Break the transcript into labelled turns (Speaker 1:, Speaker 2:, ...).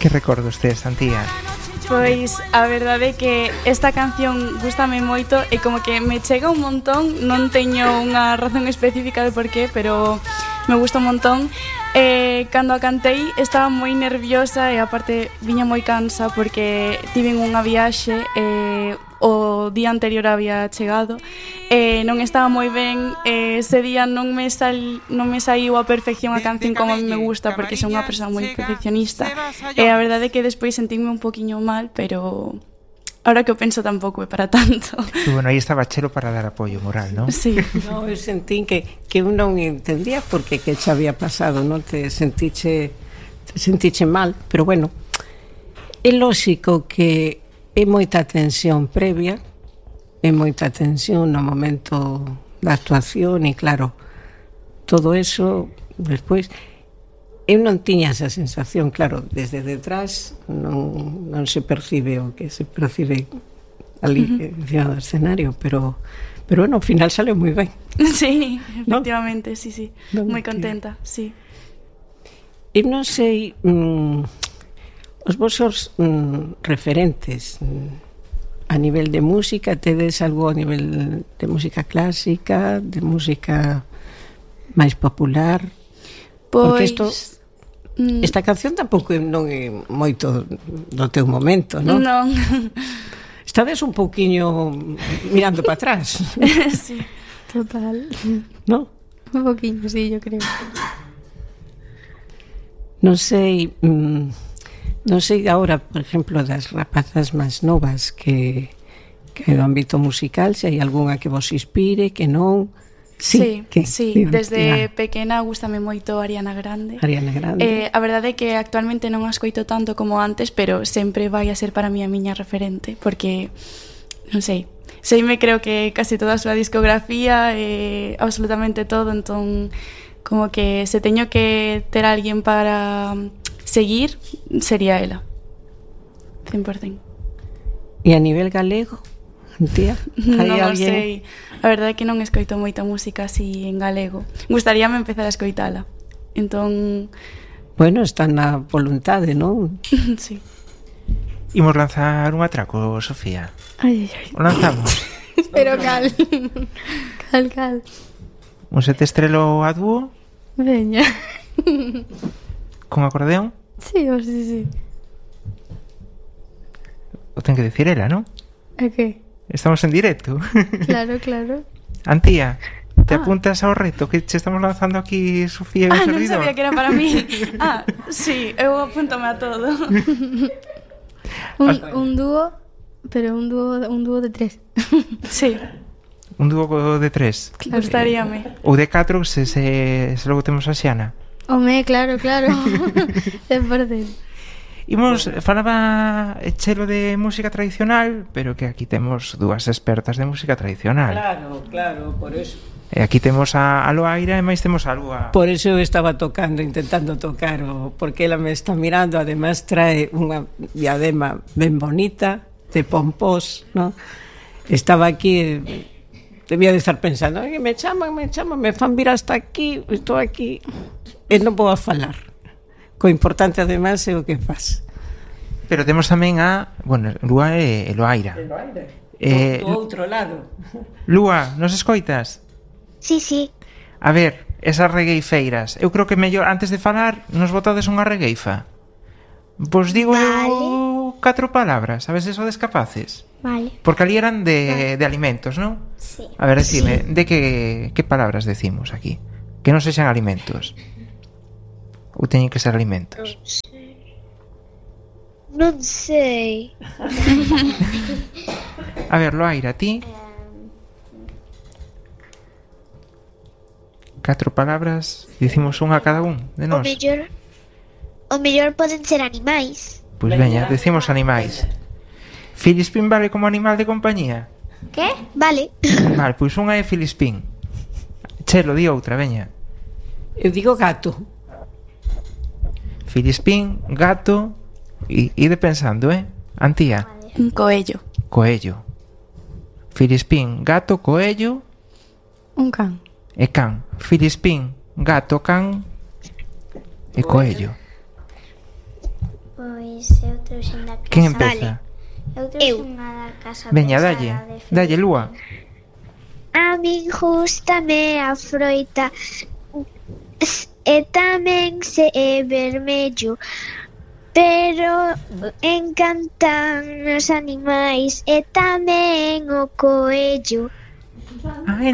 Speaker 1: Que recordos tes, Antía?
Speaker 2: Pois a verdade é que esta canción gústame moito e como que me chega un montón. Non teño unha razón específica de por qué, pero me gusta un montón. Cando a cantei estaba moi nerviosa e aparte viña moi cansa porque tiven unha viaxe o día anterior había chegado e non estaba moi ben. Ese día non me saiu a perfección a canción como a mí me gusta porque son unha persoa moi perfeccionista e a verdade é que despois sentinme un poquinho mal, pero ahora que o penso tampouco é para tanto.
Speaker 1: E bueno, aí estaba Chelo para dar apoio moral, non?
Speaker 2: Sí.
Speaker 3: No, eu sentín que eu non entendía porque que xa había pasado, non te sentiche mal, pero bueno, é lógico que é moita tensión previa, é moita tensión no momento da actuación e claro, todo eso despois eu non tiña esa sensación, claro, desde detrás non se percibe o que se percibe ali encima do escenario, pero bueno, ao final sale moi ben.
Speaker 2: Sí, efectivamente, ¿no? Sí,
Speaker 3: non
Speaker 2: moi contenta, sí.
Speaker 3: Eu non sei os vosos referentes a nivel de música, tedes algo a nivel de música clásica, de música máis popular? Porque esta canción tampouco non é moito do teu momento, non?
Speaker 2: Non.
Speaker 3: Estades un pouquiño mirando para atrás.
Speaker 4: Sí, total.
Speaker 3: Non?
Speaker 4: Un poquinho, sí, yo creo.
Speaker 3: Non sei agora, por exemplo, das rapazas máis novas que do ámbito musical, se hai algunha que vos inspire, que non.
Speaker 2: Sí, desde pequena gústame moito Ariana Grande. A verdade é que actualmente non a escoito tanto como antes, pero sempre vai a ser para mí a miña referente, porque non sei, me creo que casi toda a súa discografía absolutamente todo, entón como que se teño que ter alguén para seguir, sería ela 100%.
Speaker 3: E a nivel galego, Antía?
Speaker 2: Non sei, a verdade é que non escoito moita música así en galego. Gustaríame empezar a escoitala. Entón,
Speaker 3: bueno, está na voluntade, non?
Speaker 2: Sí.
Speaker 1: Imos lanzar un atraco, Sofía.
Speaker 4: Ai.
Speaker 1: O lanzamos.
Speaker 4: Pero cal.
Speaker 1: Un sete estrelo a dúo?
Speaker 4: Veña.
Speaker 1: Con acordeón?
Speaker 4: Sí.
Speaker 1: O ten que decir ela, non?
Speaker 4: A que?
Speaker 1: Estamos en directo.
Speaker 4: Claro.
Speaker 1: Antía, te apuntas ao reto que che estamos lanzando aquí, Sofía, e un servidor?
Speaker 2: Non sabía que era para mí. Sí, eu apúntame a todo.
Speaker 4: Un dúo, pero un dúo de 3.
Speaker 2: Sí.
Speaker 1: Un dúo de 3.
Speaker 2: Claro. Gustaríame.
Speaker 1: Ou de 4, se logo temos a Xiana.
Speaker 4: Home, claro. 100%.
Speaker 1: Imos, falaba Chelo de música tradicional, pero que aquí temos dúas expertas de música tradicional.
Speaker 3: Claro, por eso.
Speaker 1: E aquí temos a Loaira e máis temos a Lúa.
Speaker 3: Por eso eu estaba intentando tocar, porque ela me está mirando, además trae unha diadema ben bonita, de pompós, ¿no? Estaba aquí, debía de estar pensando, me chaman, me fan vir hasta aquí, estou aquí, e non vou a falar. Co importante, además, é o que faz.
Speaker 1: Pero temos tamén Lúa e Loaira.
Speaker 3: Do outro lado.
Speaker 1: Lúa, nos escoitas?
Speaker 5: Sí.
Speaker 1: A ver, esas regueifeiras. Eu creo que mellor, antes de falar, nos botades unha regueifa. Vos digo 4 palabras, a ver se sodes capaces.
Speaker 5: Vale.
Speaker 1: Porque ali eran de alimentos, non?
Speaker 5: Sí.
Speaker 1: A ver, decime, de que palabras decimos aquí? Que non sexan alimentos. Ou teñen que ser alimentos?
Speaker 5: Non sei.
Speaker 1: A ver, Loaira, ti? 4 palabras, dicimos unha a cada un de nós.
Speaker 5: O mellor poden ser animais.
Speaker 1: Pois veña, decimos animais. Filispín vale como animal de compañía?
Speaker 5: Que? Vale.
Speaker 1: Vale, pois unha é Filispín. Chelo, di outra, veña.
Speaker 3: Eu digo gato.
Speaker 1: Filispín, gato, ide pensando, Antía?
Speaker 2: Un coello.
Speaker 1: Coello. Filispín, gato, coello.
Speaker 4: Un can.
Speaker 1: E can. Filispín, gato, can e coello.
Speaker 5: Pois
Speaker 6: Pois eu trouxen da casa.
Speaker 1: Quen empeza?
Speaker 6: Eu trouxen a da casa.
Speaker 1: Veña,
Speaker 6: pensada
Speaker 1: dalle.
Speaker 6: de
Speaker 1: Dalle, Lúa.
Speaker 5: A min gústame a froita e tamén se é vermello, pero encantan os animais e tamén o coello.
Speaker 1: Ai,